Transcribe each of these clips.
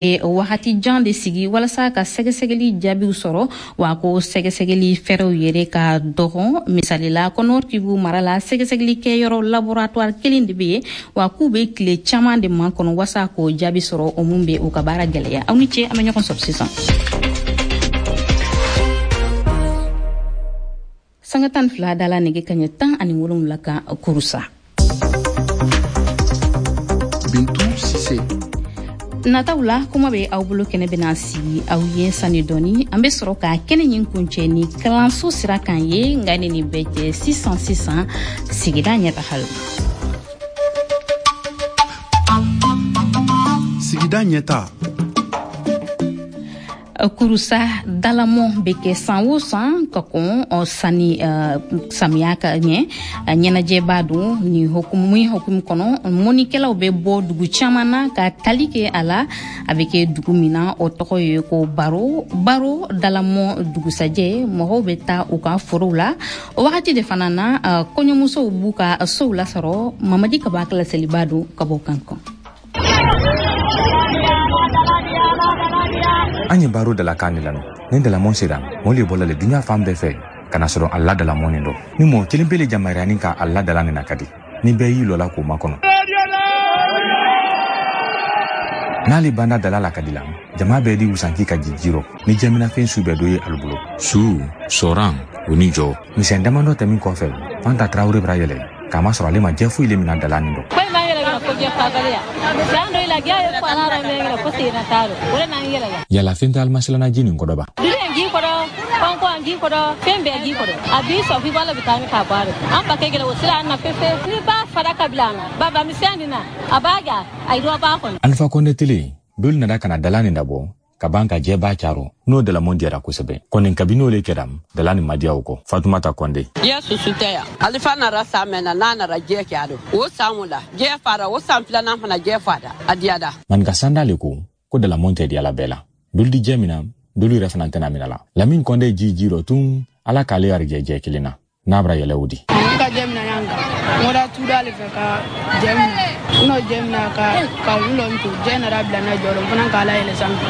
Wagati jan de sigi walasa ka sɛgɛsɛgɛli jaabiw sɔrɔ, wa ko sɛgɛsɛgɛli fɛɛrɛw yɛrɛ ka dɔgɔn. Misali la, ko Nord Kivu mara la, sɛgɛsɛgɛli kɛyɔrɔ laboratoire kelen de bɛ yen, wa k'u bɛ tile caman de makɔnɔ walasa k'o jaabi sɔrɔ, o mun bɛ u ka baara gɛlɛya. Aw ni ce, an bɛ ɲɔgɔn sɔrɔ sisan. Sanga 12 dala nɛgɛ kaɲɛ 17 kan Kurusa. Bintu Sise. Nataw la, kuma bɛ aw bolo kɛnɛ bɛna sigi aw ye sani dɔɔni. An bɛ sɔrɔ ka kɛnɛ ɲin kuncɛ ni kalanso sira kan ye. Nka ni nin bɛɛ cɛ, sisan sisan, sigida ɲɛtaga la. Sigida ɲɛta. Kurusa dalamɔ bɛ kɛ san o san ka kɔn sani samiya ka ɲɛ. Ɲɛnajɛba don. Nin hukumu min hukumu kɔnɔ, mɔnikɛlaw bɛ bɔ dugu caman na ka tali kɛ a la. A bɛ kɛ dugu min na, o tɔgɔ ye ko Baro. Baro dalamɔ dugusajɛ, mɔgɔw bɛ taa u ka forow la. O wagati de fana na, kɔɲɔmusow b'u ka sow lasɔrɔ. Mamadi Kaba ka laseliba don ka bɔ Kankan. An ye Baro dalakan de lamɛn. Ni dalamɔn sera, mɔɔ le bɔla le duɲa fan bɛɛ fɛ ka na sɔrɔ a la dalamɔn nin dɔ. Ni mɔɔ kelen pe le jamariyani ka a la dala nin na ka di ni bɛɛ y'i lɔla k'o makɔnɔ. N'ale banda dala la ka di la, jama bɛɛ di wusanki ka ji jirɔ ni jɛminafɛn su bɛɛ dɔ ye alu bolo, su sɔran o ni jɔ. Misɛn damadɔ tɛmin kɔfɛ, Fanta Tarawele bara yɛlɛ k'a masɔrɔ ale ma jɛ foyi le mina dala nin dɔ. Yala fɛn tɛ alimasilana ji nin kɔdɔ ba? Fɛn bɛɛ ji kɔrɔ, a b'i sɔn f'i b'a bɛ taa k'a bɔ a rɔ. An ba kɛ gɛlɛ o sira an na fefe ni b'a fara ka bila an na baba misɛn nin na, a b'a ja a yi b'a kɔnɔ. Alifa Kɔnde tele dolu nana ka na dala nin dabɔ ka ban ka jɛba caro. N'o dalamɔn diyara kosɛbɛ kɔni, kabini o le kɛra, dala nin ma diya o kɔ. Fatumata Kɔnde. Jɛ susu tɛ yan. Alifa nara san mɛn na, n'a nara jɛ kɛ a don o san o la, jɛ fara o san filanan fana, jɛ fara a diyada. Maninka sanda le ko dalamɔn tɛ diyala bɛɛ la. Dolu di jɛ min na, dolu yɛrɛ fana tɛna mina la. Lamin Kɔnde ji ji rɔ tun, Ala k'ale garijɛ jɛ kelen na n'a bara yɛlɛ o di. N ka jɛ mina yan kan, n kɔra tuda le fɛ ka jɛ minɛ. N n'o jɛ minɛ ka n lɔ n to jɛ nana bila n na jɔyɔrɔ, n fana k'a la yɛlɛ sanfɛ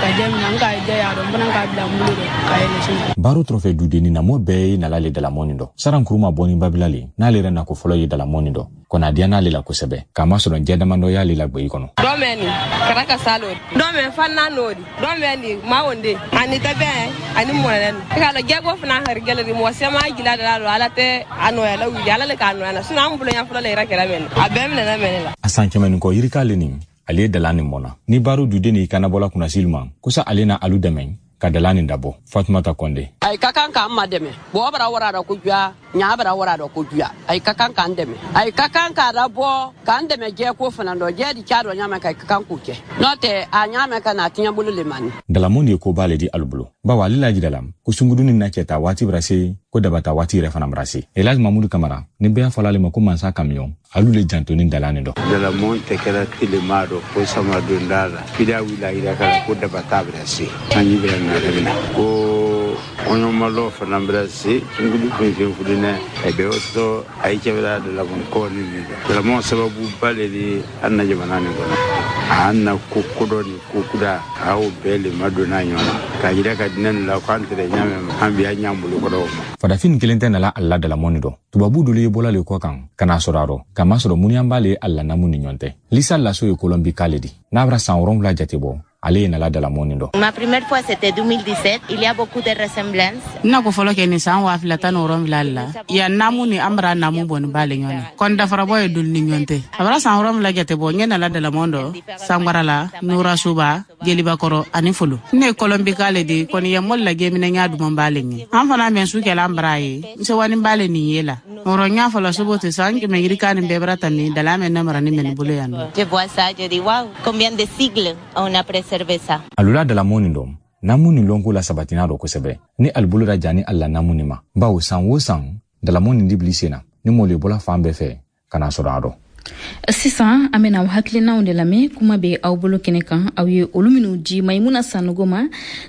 ka jɛ minɛ. N ka jɛ y'a dɔn, n fana k'a bila n bolo dɔ ka yɛlɛ sanfɛ. Baro tɔrɔfɛ dudenni na, mɔ bɛɛ ye nala le dalamɔni dɔ. Saran Kuruma bɔni babila le n'ale yɛrɛ nako fɔlɔ ye dalamɔni dɔ kɔni, a diya n'ale la kosɛbɛ, k'a masɔrɔ jɛ damadɔ y'ale la gbe kɔnɔ. Dɔ mɛ nin kɛra ka salo, dɔ mɛ fanna n'o di, dɔ mɛ nin ma wonde ani tɛbɛ ani mɔnɛ ni i k'a lɔn jɛko fana hari gɛlɛ di. Mɔgɔ sɛma jila da la, Ala tɛ a nɔya la wuli, Ala le k'a nɔya na, sinon an bolo ɲɛ fɔlɔ la yɛrɛ kɛra mɛ a bɛɛ minɛna mɛ ne la. A san 100 ni kɔ yirika le nin, ale ye dala nin mɔna ni Baro duden ni kanabɔla kunnasili ma kosa ale na alu dɛmɛ ka dala nin dabɔ. Fatumata Kɔnde. Ayi ka kan k'an ma dɛmɛ bɔgɔ bara wara dɔ ko juya ɲa bara wara dɔ ko juya. Ayi ka kan k'an dɛmɛ, ayi ka kan k'a labɔ k'an dɛmɛ jɛ ko fana dɔ jɛ di ca dɔ ɲamɛ ka ka kan k'u kɛ, n'o tɛ a ɲamɛ ka na a tiɲɛ bolo le mani. Dalamɔn de ye koba le di alu bolo, bawo ale lajira la ko sunguduni na cɛ ta waati bara se, ko dabata waati yɛrɛ fana bara se. Elhaji Mamudu Kamara ni bɛɛ fɔla ale ma ko Mansa Kamiyɔn, alu le jantoni dala nin dɔ. Dalamɔn tɛ kɛra telema dɔ ko sama donda la fida wila yira kala ko dabata bɛra se, sanji bɛra nare mina ko kɔɲɔmalɔ fana bɛra se, sungudu fɛn fɛn fudinɛ a bɛ o sɔrɔ a ye cɛbɛra dalamɔn kɔ ni nin dɔ. Dalamɔn sababu ba le di an na jamana nin kɔnɔ, a an na ko kodɔn ni ko kuda, a y'o bɛɛ le madonna ɲɔgɔn na k'a yira ka dinɛ nin la k'an tɛrɛ ɲamɛ ma an bi an ɲ'an bolo kɔrɔ o ma. Farafin kelen tɛ nala a la dalamɔni dɔ. Tubabu dolu ye bɔla le kɔ kan ka n'a sɔrɔ a rɔ, k'a masɔrɔ muniyan b'ale a la namu ni ɲɔgɔn tɛ. Lisa Laso ye Kolɔnbi k'ale di n'a bara san 7 jate bɔ, ale ye nala dalamɔni dɔ. Ma première fois, c'était 2017. Il y a beaucoup de ressemblances. N na ko fɔlɔ kɛ nin san 2017 la. Yan namu ni an bara namu bɔ ni b'ale ɲɔgɔn na kɔni, dafarabɔ ye doli ni ɲɔgɔn tɛ. A bara san 7 jate bɔ, n ye nala dalamɔn dɔ Sangbara la, Nurasuba, Jelibakɔrɔ ani Folo. Ne ye Kɔlɔnbi k'ale de kɔni ye mɔli la gɛminɛ ɲa duman b'ale ɲɛ. An fana mɛn su kɛla an bara ye n sewani b'ale nin ye la ɔrɔ n y'a fɔla sobo tɛ san 100 yirika nin bɛɛ bara tami dala mɛn ne mara ni mɛn bolo yan nɔ. Je vois ça, je dis, wow, combien de sigles on a préservé ça. Alula dalamɔn nin dɔn namu nin lɔnko la sabatina dɔ kosɛbɛ ni alibolo da jani a la namu nin ma, bawo san o san dalamɔn nin dibili sen na ni mɔɔ le bɔla fan bɛɛ fɛ ka na sɔrɔ a dɔn. Sisan an bena aw hakilinaw de lamɛn kuma bɛ aw bolo kɛnɛ kan, aw ye olu minw di Maimuna Sanogo ma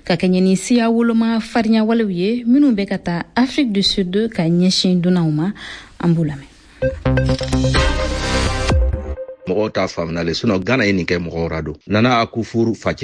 ka kɛɲɛ ni siya woloma farinya walew ye minw bɛ ka taa Afrique du Sud ka ɲɛsin dunanw ma. An b'u lamɛn. Mɔgɔw t'a faamuna le, sinon Ghana ye nin kɛ mɔgɔw ra don. Nana Akufo facɛ.